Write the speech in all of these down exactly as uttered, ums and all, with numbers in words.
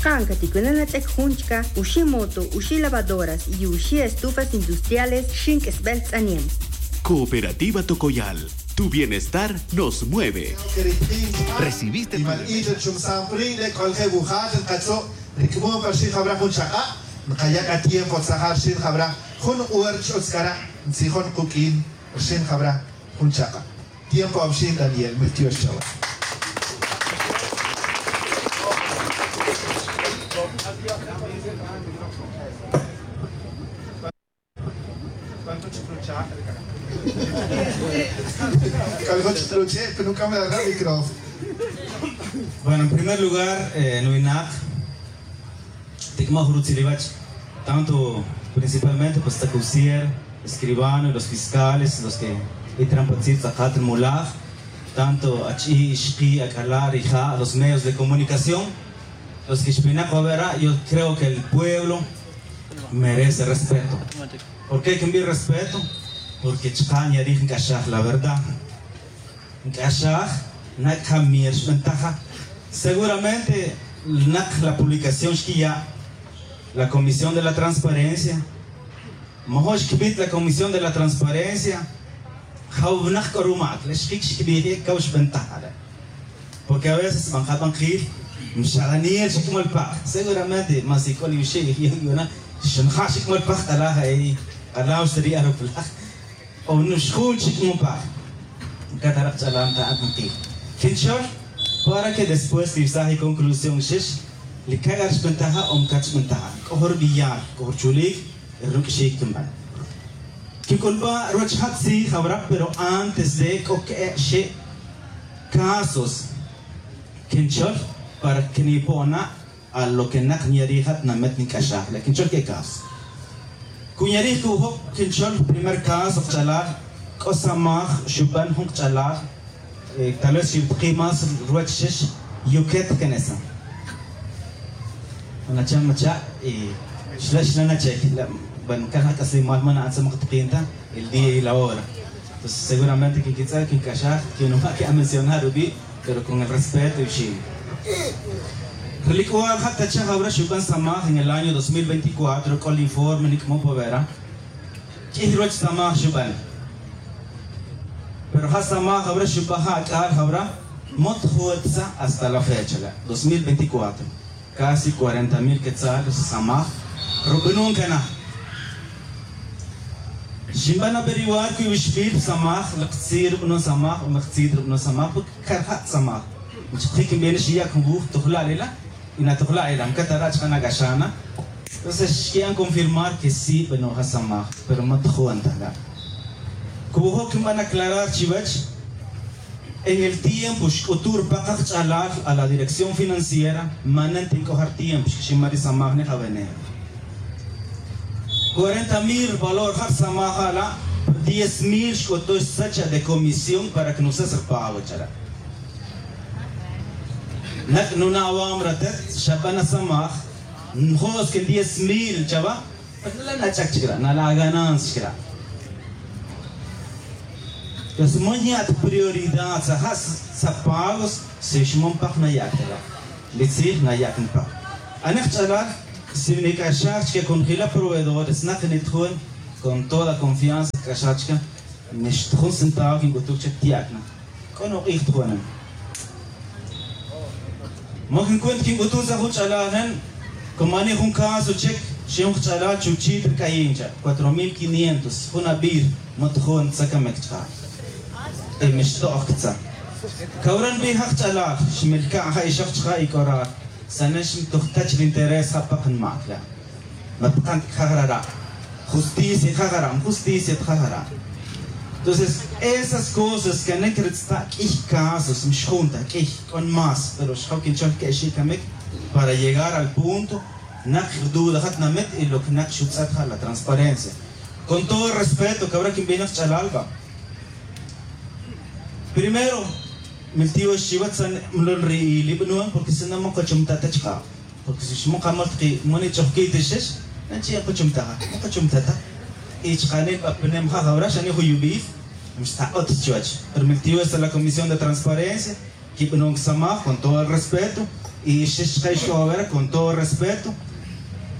Kan caticunan ach'ec jun chca, uxi' moto, uxi' lavadoras y uxi' estufas industriales. Xin q'uisbel tz'aniem. Cooperativa Tocoyal, tu bienestar nos mueve. Recibiste tu... Ric'amon pa rixin jabra jun chak'a', nkaya' k'a tiempo tzaja' rixin jabra jun hora chi utz c'a re' ntzijon kuq'uin rixin jabra jun chak'a'. Tiempo awixin Daniel, mi tiox chawe. Bueno, en primer lugar, eh, nuwinak, tic'amoj rutzil iwech, tanto principalmente pues tzacusier, escribano, los fiscales, los que itran pa tzij tz'akat nmulaj, tanto ach'i', ixqi', ac'ala', rija', los medios de comunicación, los que xpinak wawera, yo creo que el pueblo merece respeto. ¿Por qué quinbij respeto? Porque chka' nyarij nc'axaj la verdad. Nc'axaj, nak' ja mir xbentaja. Seguramente nak' la publicación xquiya' la Comisión de la Transparencia. Majo' xquibit la Comisión de la Transparencia. Jawnak c'o rumac le xjic xquibij, cau xbentaja re'. Porque a veces ban kaban kil, mxa Daniel xic molpaj. Seguramente mas ic'ol yuxi' yu'na, xnja' xic molpaj k'alaj, k'alaj xtari' arupulaj. O nux jun chic mupaj. Catarak ch'alam ta ankil quinchol para que después tiwsaj iconclusión xix, li cag'ar xbentaja o mcat xbentaja. C'o jun rubiyal, c'o jun ruchulic, ruq'uixic quinban. Quinc'ulba' ruwech ja tzij jawra, pero antes de c'o que'e' xe' casos quinchol para que nipo'na a lo que nak' nyarij ja tinamet nic'axaj le quinchol que'e' caso. Cu nyarij cu'ujoc quinchol primer caso kach'alal, c'o samaj xuben jun kach'alal, eh, tal vez xibtaki más ruwech xix, yuquet canesa. Nacha' macha', eh, xla xla nacha', bueno, cana c'aslimal mana atzamak takinta el día y la hora. Entonces seguramente quinquitz'e' quinc'axaj, quinuma' quiamencionar rubi', pero con el respeto y xin. Relic'ual ja tacha jawra xuben samaj en el año dos mil veinticuatro, c'o el informe nic'amon pa wera. Q'uiy ruwech samaj xuben. Pero ja samaj jawra xuben ja ac'al jawra, mot juwetza hasta la fecha la, dos mil veinticuatro. Casi cuarenta mil quetzal samaj rubanon cana. Xinban averiguar cuwi wixbil samaj, lek tzij rubanon samaj o lek tzij rubanon samaj, porque car ja' samaj. Nch'akic nbena xiya' jun wuj tujla' lela', y natujla' lela', mcat ara' chka' nac'axana. Entonces xquiban confirmar que sí, bueno, ja samaj, pero ma ta jun ta la. Cuwi joc quinban aclarar chiwech. En el tiempo xc'utu' rupakaj ch'alal a la dirección financiera, manen tinc'ojar tiempo xquixin mari samaj nej awenej. Cuarenta mil valor ja' samaj ja' la', diez mil xc'utu' xsacha de comisión para que nusas rupago chara'. Nak' nuna' awam ratet xaban asamaj, njo'os que diez mil chawa. Pero nala' nach'ac chic ra', nala' ganancia chic ra'. Entonces ma nya' ta prioridad sa ja' sa pagos, si xman paj nayac ta la'. Li tzij nayac npaj. Anek ch'alal si nic'axaj chic conjila proveedores nak' nitjun, con toda confianza nc'axaj chic. Nix ta jun centavo quinc'utuc chic tiyac na. C'o nuk'ij ta jun. Ma quincuenta quinc'utuc sa jun ch'alal nen. Comani jun caso chic, xi jun kach'alal chuchit rc'ayin cha' cuatro mil quinientos jun abir. Ma ta jun tza camic chka'. Y mix to'oj ctza. Cawra nbij ja kach'alal xmilca' ja ixok chka' y c'o ra. Sa nen xmtujtach ri interés ja pak nmac la'. Ma pkan ta cajara' ra'. Justicia cajara', ma justicia ta cajara'. Entonces esas cosas canic ritzta' q'uiy casos mixjun ta q'uiy, c'o más pero xjaw quinchol que'xi' camic para llegar al punto. Nak' rduda ja tinamit y lo que nak' xutz'et ja la transparencia. Con todo el respeto cawra quinbij nak ch'alal va. Primero miltiyox chiwech sa' nmlol ri li banon porque si no ma kachumta' ta chka'. Porque si xman kamol ta ki' man ich'ojki' ta xix, nanchi' kachumta' ja ma kachumta' ta. Y chka' nin b'apanem ja jawra xa nin juyub'il. Mixtaq'ot chiwech pero miltiyox sa' la comisión de transparencia. Kibanon kisamaj con todo el respeto. Y xix chike ixk'o wawera con todo respeto,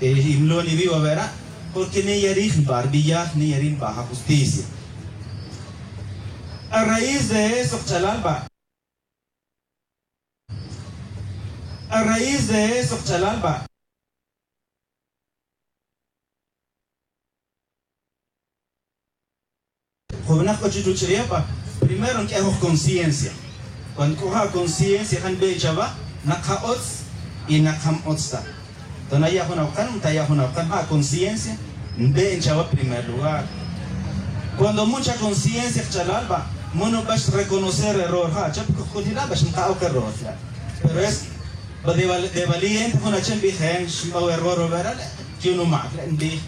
eh, y mlo niwi' wawera, porque ne yari' jniba' rbiyal, ne yari' jniba' ja justicia. A raíz de eso kach'alal ba, a raíz de eso kach'alal ba, jun winak k'o chi ruch'ulew ba, primero nq'uej jun conciencia. Cuando k'o ja conciencia ja nbe' chawa nak ja utz y nak ja m-utz ta. Tona ya' jun awkan, taya' jun awkan, ja conciencia nbe' chawa primer lugar. Cuando mucha conciencia kach'alal ba, mono ba xreconocer error ja' chawa, porque jun jila' ba xnka' ok error ja'. Pero es ba de val-, de valiente jun achen nbij, eh, xnba' error wawera le', yu'un numac le' nbij,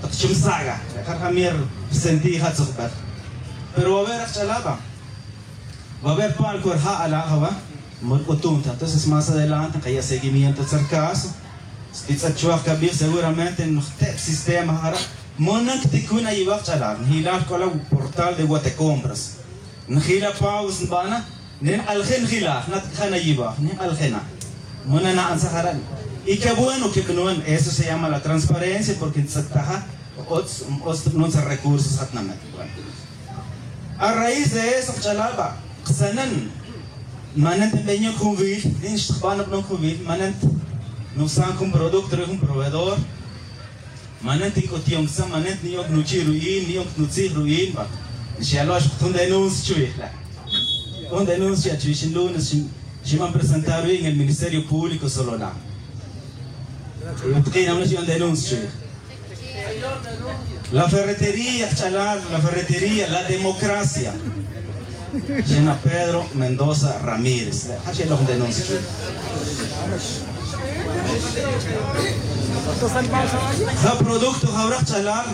tak chi msaga le', ja rjamier rsentij ja tzujbel. Pero wawera kach'alal ba, wawera pa'l cuerja' ala' jawa, mol c'utum ta. Entonces más adelante nkaya' seguimiento tzar caso. Xtitz'et chuwaj kabij, seguramente nojteb sistema jara'. Mono ticun ayiwaj kach'alal, njilal c'o la portal de Guatecompras. Njila pagos nbana, ne nk'alje' njila, jna' ta c'a ja nayiwaj, ne nk'aljena. Mono nana'an tzaj jara'. Y qué bueno que banoan, eso se llama la transparencia, porque ntz'et ta ja utz, utz ta banoan tzaj recursos ja tnamit. Bueno. A raíz de eso kach'alal ba, ksanen, manen ta nbeyok jun wil, nin xtjban banoan jun wil, manen ta nusan jun producto rij jun proveedor. Manen ta nc'utuyon ksan, manen ta niyon nuchi' ru'in, niyon nutzij ru'in ba. Xyalox jun denuncia chuwij la'. Jun denuncia chuwij, xin lunes xin, xinban presentar ru'in en el Ministerio Público Sololá. Y utq'uin awna xyon denuncia chuwij. La ferretería kach'alal, la ferretería, la democracia. Xena Pedro Mendoza Ramírez. Ja xeloj denuncia chuwij. Ja producto jawra kach'alal,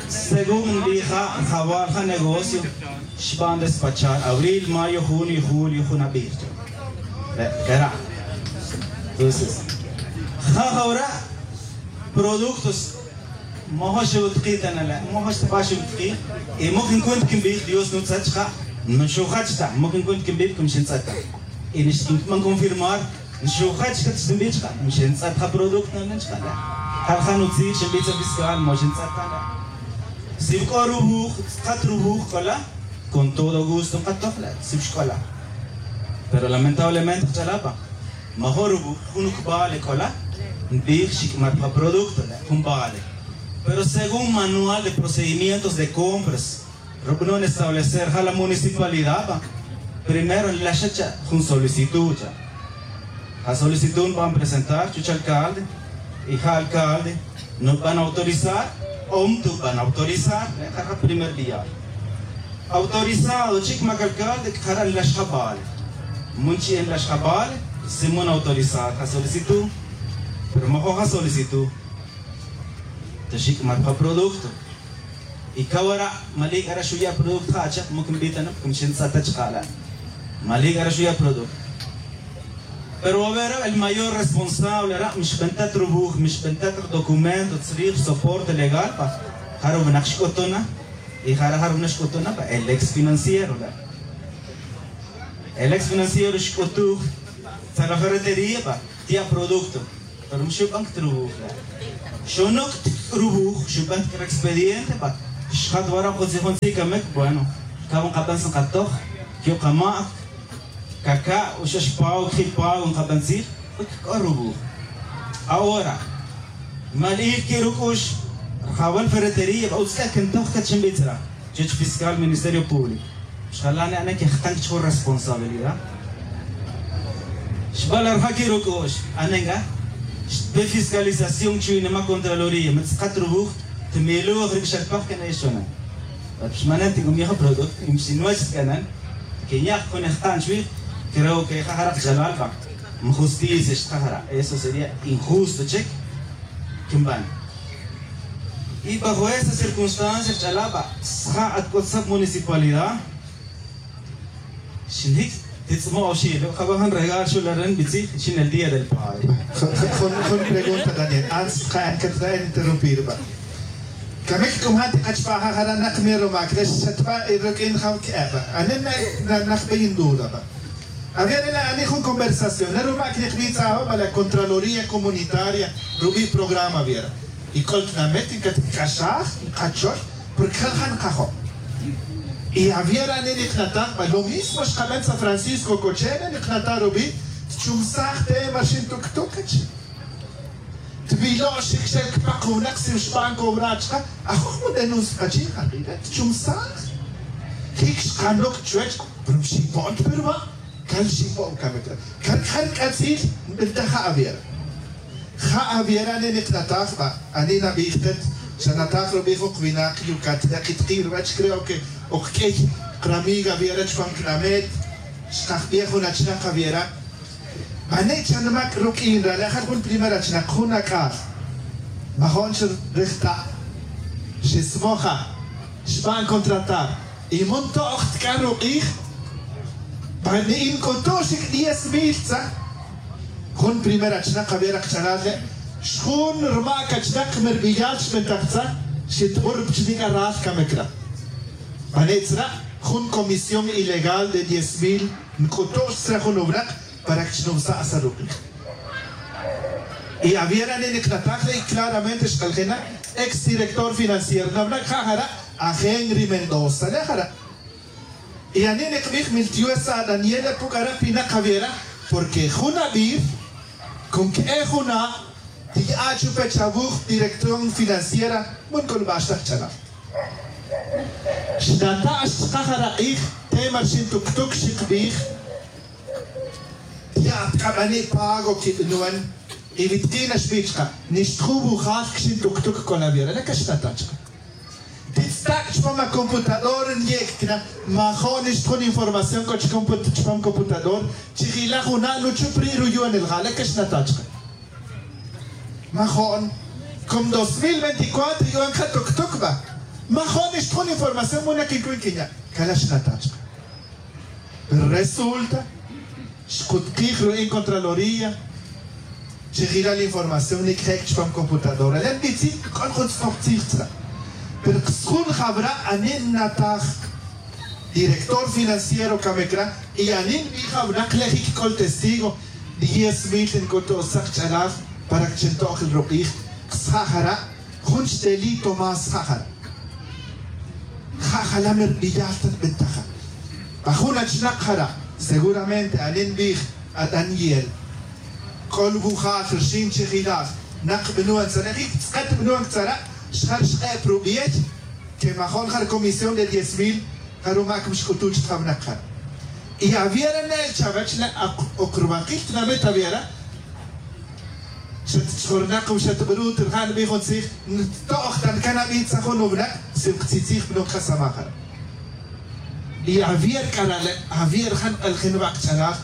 según nbij ja, jawal ja negocio, xban despachar abril, mayo, junio, julio, jun abij. Re', kera'. Entonces, ja jawra productos mojo xewutqui ta na la', mojo xtaba xewutqui. Y mojo en cuenta que nbij Dios nutz'et chka', no xujach ta, mojo en cuenta que nbij como xintz'et ta. Y nixban confirmar, xujach ta xinbij chka', como xintz'et ja producto na la' chka' la'. Ja ja nutzij xinbij tz'a fiscal, mojo xintz'et ta la'. Si c'o ruwuj, tz'et ruwuj c'o la', con todo gusto nkatoj la', si xc'o la'. Pero lamentablemente kach'alal ba, majun ruwuj, jun vale c'o la', nbij xic'mar pa producto la', jun vale. Pero según manual de procedimientos de compras, rubanon establecer ja la municipalidad ba, primero nlaxa cha jun solicitud cha. Ja solicitud nban presentar chuwech alcalde, y ja alcalde nuban autorizar o ntuban autorizar, re' ja primer vial. Autorizado chic mac alcalde, jara' nlax ja vale. Mun chi' nlax ja vale, si mun autorizar ja solicitud. Pero majun ja solicitud ta xic'mar ja producto. Y cawara', malic ara' xuya' producto ja achak, moc nbij ta na, como xintz'et ta chka' la'. Malic ara' xuya' producto. Pero wawera, el mayor responsable ara', mixbentat ruwuj, mixbentat rdocumento, tzrij rsoporte legal, ba, jara' winak xc'utun na, y jara', jara' winak xc'utun na, ba, el ex financiero la'. El ex financiero xc'utuj, tzar la ferretería, ba, tiya' producto. Pero ma xuban ta ruwuj la'. Xunuc' ta ruwuj, xuban ta expediente, ba, xjat wara' jun tzij, jun tzij camic, bueno, cau nkaban tzij nkatoj, yu' kama'c, caca', o xa xpau, cjip pau nkaban tzij, porque c'o ruwuj. Ahora, ma li'ij que ruc'ux, rjawal ferretería, ba, utz c'a que ntoj cat xinbij tzra. Chuwech fiscal Ministerio Público. Xjala' ne anen que jkan chuwech responsabilidad. Xbalarja' que ruc'ux, anen c'a xtpe fiscalización chuwi' nima Contraloría, ma tz'et ruwuj, tmiloj ruc'axel paj que na ixonan. Pero xmanen ti c'a miyoj producto, y xinwech tz'anan, que nya' jun jkan chuwi', creo que ja jara' kach'alal ba, ma justicia xtja jara', eso sería injusto chic. Quinban. Y bajo esa circunstancia, kach'alal ba, sja' at c'o tz'et municipalidad, xinjic' titz'mo oxi', lo' jaba' jun regalo xu' la ren bitzij, xin el Día del Padre. Jun, jun, jun pregunta, Daniel, antes de interrumpir, ba. Camic c'o ja ti k'ach pa ja jara' nak mi rumac re' xatba' y ruq'uin ja que'e ba. Anen na, na, najbe yin duda ba. Aviera la ani jun conversación la rumac nikbitza' ajo ma la contraloría comunitaria rubi' programa aviera. Y c'ol tinamet ncatc'axaj nkachol porque jal ja nkajo'. Y aviera ani niknataj ba lo mismo xkaben san francisco cochena niknataj rubi'. Tchumsaj tema rxin tuctuc cachi. Tbilo' xic xel cpak jun winak si xban cobrar chka. Ajo' jun denuncia kachi' jark'ire' tchumsaj. Jic xkanoc chuwech pero mxipo'n ta pe ruba'. Can xipo'n camic re' can jar c'atzil. Nbiltaj ja aviera. Ja aviera ani niknataj ba ani nabij tet. Xanataj rubi' jun winak yucat nekit ki' ruwech creo que ok q'uiy. Kramiga aviera chupam cnamet xkajbej jun achnak aviera. Mane' chan mac ruq'uin rale' jal jun primer achnak jun ac'al. Majo'n xrijta'. Xismoja. Xban contratar. Y mun to'j tc'an ruk'ij. Mane' inc'utu' xic diez mil tza. Jun primer achnak aviera kchalal le'. Xjun rmac achnak mi rbiyal xbentaj tza. Xitbur pchnic'a ral camecra. Mane' tzra' jun comisión ilegal de diez mil nc'utu' xtzra jun ubrac. Para que chnumsa' sa ruk'ij. Y aviera ni niknataj le' y claramente xk'aljena ex director financiero nawnac ja jara'. Ajenri mendoza le' jara'. Y ani nikbij miltiwesa' daniel le' puc'ara' pinak aviera. Porque jun abir con que'e jun a' tiya' chupe chavuj dirección financiera. Mun c'ulbax tak ch'alal. Xnata' xchka jara' k'ij tema rxin tuctuc xikbij. Tiya' tkabani' pago quibinuen. Y wi tki' naxbi chka nixtju wujal quixin tuctuc c'o la viera le' caxnata' chka. Titztak' chupam acomputador nyec'cna. Majo' nixtjun información c'o chupam computador. Chijila' juna' nuchup ri' ruyu'un el ja le' caxnata' chka. Majo'n. Como dos mil veinticuatro yu'un ja tuctuc ba. Majo'n nixtjun información muna' quincun quinya'. Cala' xnata' chka. Pero resulta xcutkij ru'in contraloría. Chi jila' la información nic'jec' chupam computadora le' nbitzi' c'o jun tz'ok tzij tzra'. Pero kxjun jawra' ani nnataj director financiero camecra. Y ani nbij jawra' nak le' jic c'o testigo. Diez mil nc'utu' tzak ch'alal para que chi nto'j el ruk'ij. Kxja' jara' jun xteli' tomás ja jara'. Ja jala' mi rbiyal ta nbentaja. Pa jun achnak jara' seguramente ani nbij a daniel. C'o lwujal rxin chijilal nak bnuan tzara' jic tz'et bnuan tzara'. Xjar xk'e' pa rubiey. Que majo'n ja rcomisión de diez mil. Ja rumac mixc'utu' chik jawnak jara'. Y aviera ne' chawech ne' oc rwakil tinamit aviera. Xatch'ornak o xatb'rut rija' nbij jun tzij. Nto'j ta ncan ab'itza jun wnak si ktzijtzij b'noj kasamaj jara'. Y avier k'ara' le' avier ja nk'aljin wak ch'alal.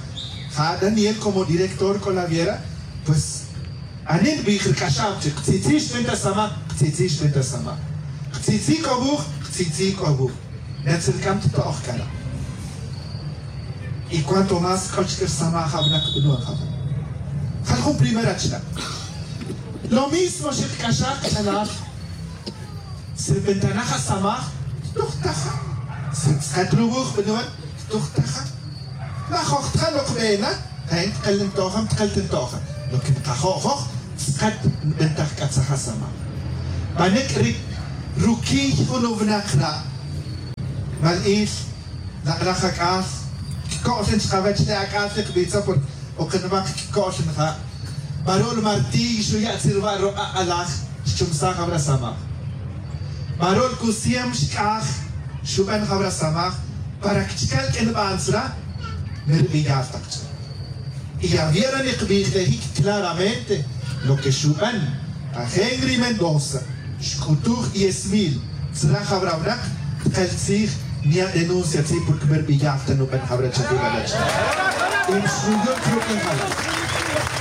Ja daniel como director k'o la aviera. Pues ani nbij rk'axab chi ktzijtzij xb'en ta samaj. Ktzijtzij xb'en ta samaj. Ktzijtzij k'o wuj. Ktzijtzij k'o wuj. Netzil k'am tto'j k'ara'. Y cuanto más k'o chik rsamaj jawnak b'nwan jawnak. Jal jun primera chila'. Lo mismo xikc'axaj kch'alal. Si rbentanaj asamaj ttujtaja. Si tz'et ruwuj b'nwan ttujtaja. Majoj tja lok b'ena. Jain tkel nto'ja tkel ta nto'ja. Lo que nkajo'joj tz'et nbentaj k'atzaj asamaj. Manik' ri ruquiy jun wnak ra'. Mal il. Lak'laj ak'al. Kco'l chkawech le ak'al ri kbitza porque okinmak kco'l nja'. Barul martiy xuya' tzirwa' ruk'a' alaj. Xchumsaj jawra samaj. Barul cusiem xc'aj. Xuben jawra samaj. Para que chcal q'uinban tzra. Mirbiyal tak ch'e. Y aviera nikbij le jic claramente lo que xuben. Ajenri mendoza xc'utuj diez mil. Tzra jawra wnak. Tkel tzij. Nya' denuncia tzij porque mirbiyal ta nuben jawra chajil alach. Y mxuyuc ruq'ijal.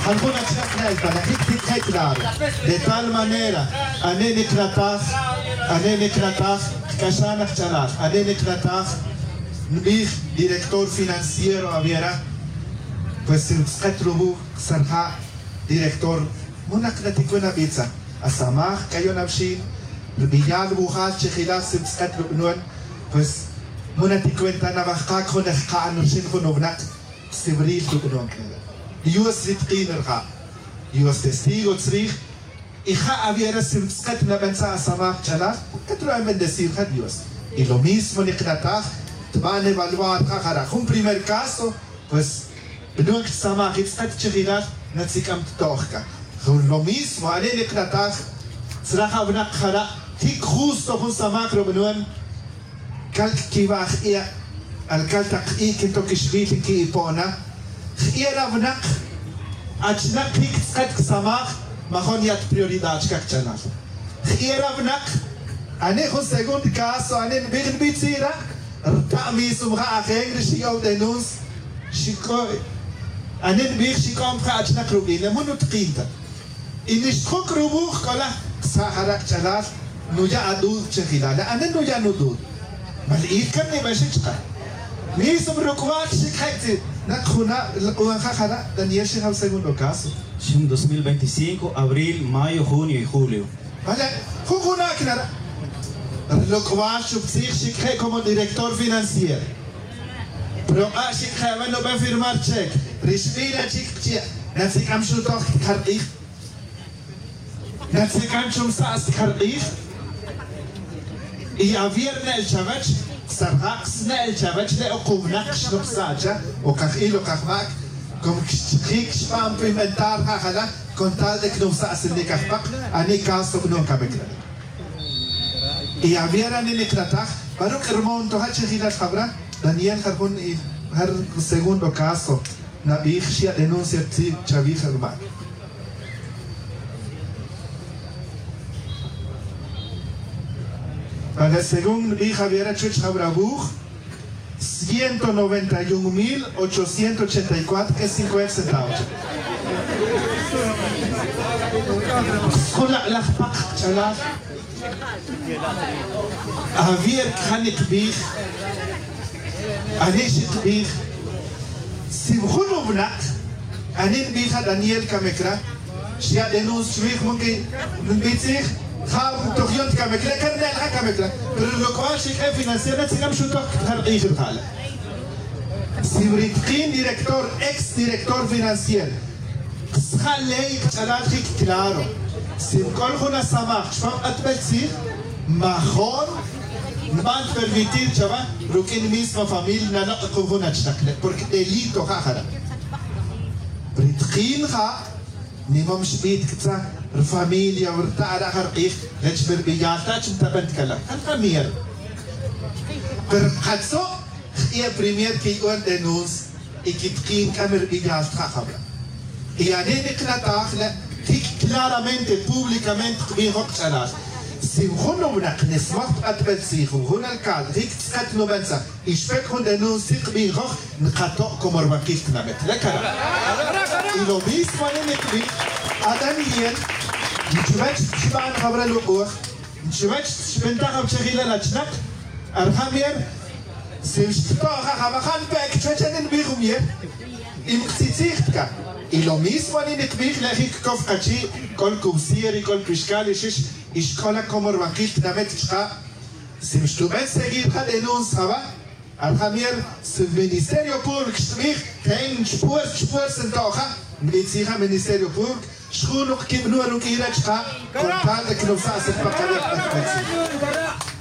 Jal jun achnak na'el pa la jic titje claro. De tal manera. Ani niknataj. Ani niknataj. Kc'axan ajch'alal ani niknataj. Nbij director financiero aviera. Pues si tz'et ruwuj. Sarja' director. Munak naticuen abitza. Asamaj c'ayon awxin. Rbiyal wujal chijilal si tz'et rub'nwan. Pues munak ticuenta nawaj kak jun ejka'n rxin jun wnak. Sibril rub'anon k'a re'. Dios ri tq'in rija'. Dios testigo tzrij. Y ja aviera si tz'aqat naben tza asamaj ch'alal, qet ru'an bendecir ja Dios. Y lo mismo niqnataj, tban evaluar ja jara' jun primer caso, pues b'anon ksamaj y tz'aqat chijilal natzik'am tto'j k'a. Jun lo mismo, ani niqnataj, tzraj awinaq jara', jik justo jun samaj rub'anon, kal kkiwa' jq'iq', alkal taq q'i' kinto kixwil nki'ipona. Jq'iq' rawinaq, achnaq jik tz'aqat ksamaj, majon yat prioridad chkaj ch'alal. Jq'iq' rawinaq, ani jun segundo caso, ani nbij nbij tzira', rta' mismo ja ajen ri xiyow denuncia, xik'o, ani nbij xik'om ja achnaq rub'in, le mun nutqin ta. Y nixtjuk' ruwuj k'ola, sa' jara' kch'alal, nuya' adud chejilal. La' ani nuya' nudud. Mali'ij kan nib'exik chqe. Mismo ruk'wal xikje' tz'i, naq juna' lq'uan ja jara', Daniel xijab segundo caso. Xin dos mil veinticinco, abril, mayo, junio y julio. Vale, jun juna' kinara'. Rlok'wal xub'tzij xikje' como director financiero. Proq'a xikje' awen nub'en firmar cheque. Ri xb'ila chik qchi', natzik'am xutoj kjarq'ij. Natzik'an chumsa' skarq'ij. Y avier ne'el chawech, sarjaq sne'el chawech le' o qumnaq xnupsa' cha, o qajil o qajmak', como kxchijik xb'an pi inventar ja jala, con tal de knupsa' snik ajpaq, ani caso b'anon kamik re'. Y avier ani niqnataj, pa ruk' rmonto ja chijilal jab'ra, Daniel jar jun y jar segundo caso, nab'ij xya' denuncia tzij chawij rmak'. Para según nbij aviera chuwech jab'ra wuj, ciento noventa y un mil ochocientos ochenta y cuatro y cincuenta centavos. Jun laq'laj paq ch'alal. Avier kjan niqbij, ani xiqbij, si jun winaq, ani nbij ja Daniel Camecra, xya' denuncia chwij, porque nbij tzij, ja toj yon ta Camecra, kan nel ja Camecra, pero lok'wal xik'e financiero, natzik'am xutoj kjar q'ij ri ja le'. Si ri tqin director, ex director financiero, Sja' ley kch'alal jik claro. Si nk'ol jun asamaj chupam q'atbel tzij, majon nb'an permitir chawa ruk'in misma familia naloq' jun jun achnaq le', porque delito ja jara'. Ri tqin ja nimam xb'it k'tza rfamilia, rta' ara' ja rq'ij rech mi rb'iyal ta chi ntaben ta kala'. Jan ja mier. Pero qatzo' jq'i'e primer kiya'on denuncia. Y kitqin k'a mi rb'iyal ta ja jab'ra'. Y ani niqnataj le' jik claramente, públicamente qb'ij joq ch'alal. Si jun winaq nismaj pa q'atb'al tzij, jun alcalde, jik tz'aqat nuben tzaj, y xpek jun denuncia qb'ij joq, nqato' como rwaqil tinamit. Le' kara'. Y lo mismo ani niqb'ij, a Daniel, chuwech xb'an jab'ra' luk'uj, chuwech xb'intaj awchajil la achnaq, a rija' mier, si xtto' ja jab'a' ja npe' chuwech ani nb'ij jun mier. Y mqtzitzij ta k'a. Y lo mismo ani niqb'ij le' jik kow qachi', k'ol cubsier y k'ol pixkal y xix, y xk'ola como rwaqil tinamit chqa'. Si xtuben seguir ja denuncia jab'a', a rija' mier, si Ministerio Público xtb'ij, ten chpuerta, chpuerta nto' ja, nb'ij tzij ja Ministerio Público, xjunoq kib'anun ruk'in re' chqa', con tal de que nusa'sik pa qaleq'.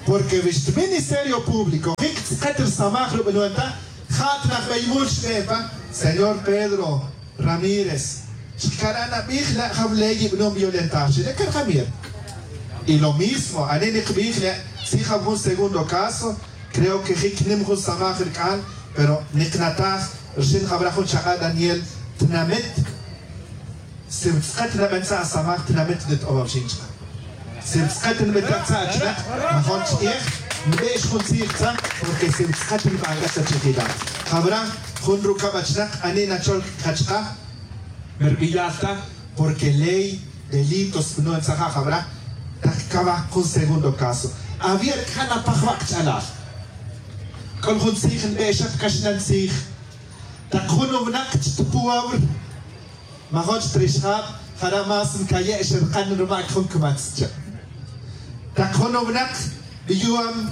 Porque wi xTministerio Público jik tz'aqat rsamaj rub'anun ta, ja' ta najb'ey mul xb'e pa, señor Pedro Ramírez, chkara' nab'ij le' jaw ley yib'anun violentar, xi le' kar jamier. Y lo mismo, ani niqb'ij le' tzij jaw jun segundo caso, creo que jik nim jun samaj rik'an, pero niqnataj rxin jab'ra' jun chaq'a' Daniel, tinamit, si tz'aqat naben tza' asamaj, tinamit nit'obab xin chka. Si tz'aqat nb'etaj tza' achnaq, majon ch'iej, nb'e'x jun tzij tza, porque si tz'aqat nb'an k'a tza chijilal. Jab'ra' jun rukab' achnaq, ani nachol kachqa, mi rb'iyal ta, porque ley, delitos, b'anun tza ja' jab'ra', taq kawaj jun segundo caso. Awier k'an apaj wa' kch'alal. K'ol jun tzij nb'e'xa ta kaxlan tzij. Taq jun winaq chi tpuwawr, majon chi trixjab, jara' más nkaye' xirqan rumak' jun kmatz cha. Taq jun winaq b'iyuam,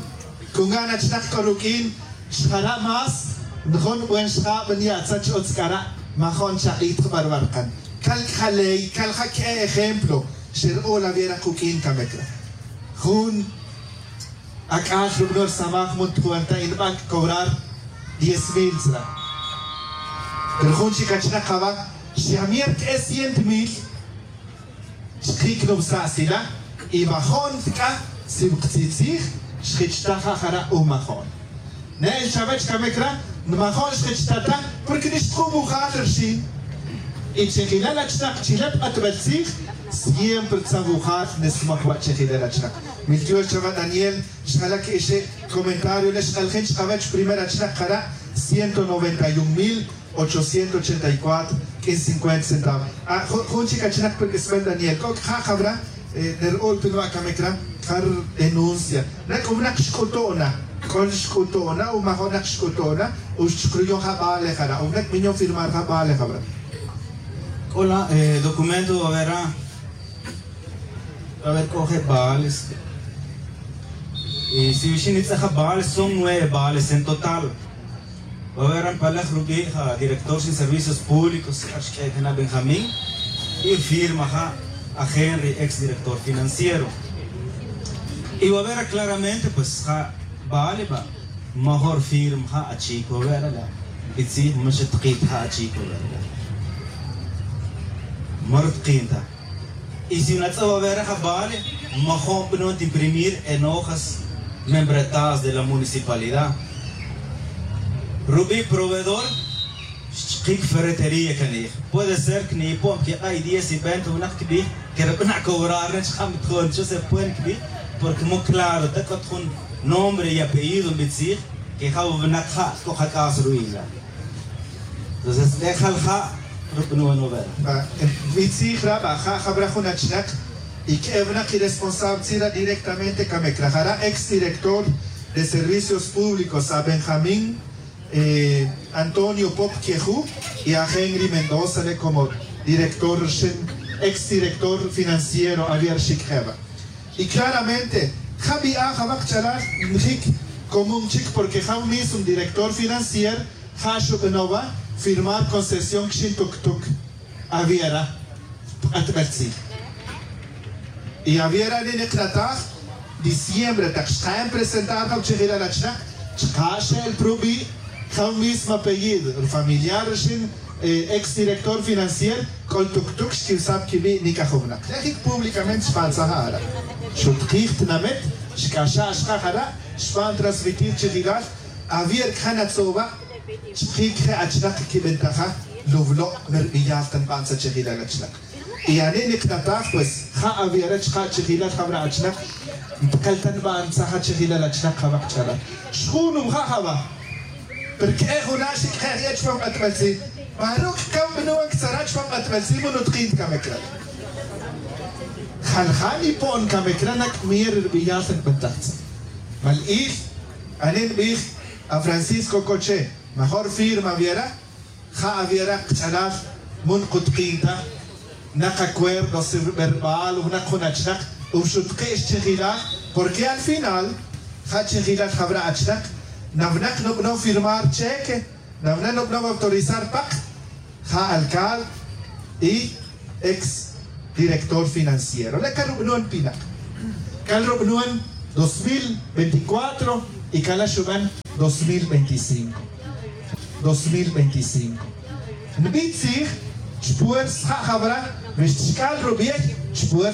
kungan achnaq k'o ruk'in, xjara' más Nujun buen xjab niya' tzach otz c'ara'. Majo'n chak'it jba ruba' rkan. Cal c'a ja ley, cal ja c'a ejemplo. Xerk'o la viera kuq'uin camecra. Jun ac'al rubno' rsamaj muntujuan ta inban cobrar diez mil tzra. Pero jun chic achnak jaba xyamier c'a cien mil. Xkic' nubsa' sila y majo'n c'a si wktzij tzij xjich ta ja jara' u majo'n. Ne'el chawech camecra nmajo'n xjich ta ta. Porque nixtjun wujal rxin y chejilal achnak chila' pk'atbel tzij. Siempre tzan wujal nesmaj wa' chejilal achnak. Miltiox chawa' daniel. Xjala' que ixe' comentario le' xk'aljin chkawech primer achnak jara' ciento noventa y un mil ochocientos ochenta y cuatro. Q'uin cincuenta centavos. Jun chic achnak pe q'uisbel daniel c'o c'a ja' jawra. Ner'ul pe nuba' camecra. Jar denuncia na c'o winak xc'utu'na. C'o xc'utu'na u majo'nak xc'utu'na. U xchukruyon ja bale jara u winak binyon firmar ja bale jawra. C'o la documento wawera. A ver c'o je' bales. Y si wixin nitz'aj ja bales son nueve bales en total. Wawera npalaj rubi' ja director sin servicios públicos ja xq'ue'cana benjamín. Y firma ja a henry ex director financiero. Y wawera claramente pues ja bale ba major firma ja achic wawera la. Bitzij ma xatkit ja achic wawera la. Ma rutkin ta. Y si natz'aj wawera ja bale major bnon timprimir en hojas membretadas de la municipalidad. Rubi' proveedor xchkic ferretería canij. Puede ser que niyipon quik'ay diez y veinte winak quibij que rbana' cobrar ne chkam tjon cho se puede quibij. Porque mo claro ta c'ot jun nombre y apellido nbitzij que ja winak ja c'o jac'as ruwi' la. Entonces le' jal ja' rub'nun wena wera. Bitzij ra ba ja' jabra jun achnak y c'e winak iresponsable tzira directamente camecra jara' ex director de servicios públicos a benjamín antonio pop queju y a henry mendoza le' como director rxin ex director financiero avier xic' jeba. Y claramente ja bi'a jaba kchalal njic común chic porque ja un mismo director financier ja xub'anowa firmar concesión kxin tuctuc. Aviera pk'atbel tzij y aviera nin iknataj diciembre tak xkaen presentar ja uchijilal achnak chka' xe'el prubi' ja un mismo apellido rufamiliar rixin ex director financier k'ol tuctuc xquiwsab quibi' nic'ajownak. Re' jic públicamente xbantzaj ja ara' xutkij tinamet xc'axa' xka' jara' xban transmitir chijilal. Avier c'a jana tzoba' chkic je' achnak quibentaja luvlo' merbiyal ta nban tzachijilal achnak. Y ani' niknataj pues ja' aviera chka' chijilal jabra achnak npkel ta nban tzaj achijilal achnak jaba kch'alal xjun nuja' jaba. Pero c'a juna' xic' je' je' chupam k'atbel tzij ma ruc' cam bnuan ctzara' chupam k'atbel tzij ma nutkin camecra. Jalja' nipo'n camecra nac' mier rbiyal ta nbentaj tzij. Mal'il ani' nbij a francisco coche major firma aviera. Ja aviera kch'alal mun kutkin ta. Nak acuerdo si rberbal o nak jun achnak o xutki' xchijilal. Porque al final ja chijilal jabra achnak nawnak nubno firmar cheque nawnak nubno autorizar pak ja alcalde y ex director financiero le' cal rub'nun pinak. Cal rub'nun dos mil veinticuatro y cala' xuban dos mil veinticinco. Dos mil veinticinco nbi' tzij chpuerz ja' jabra wi xtxc'al rubi'ey chpuerz.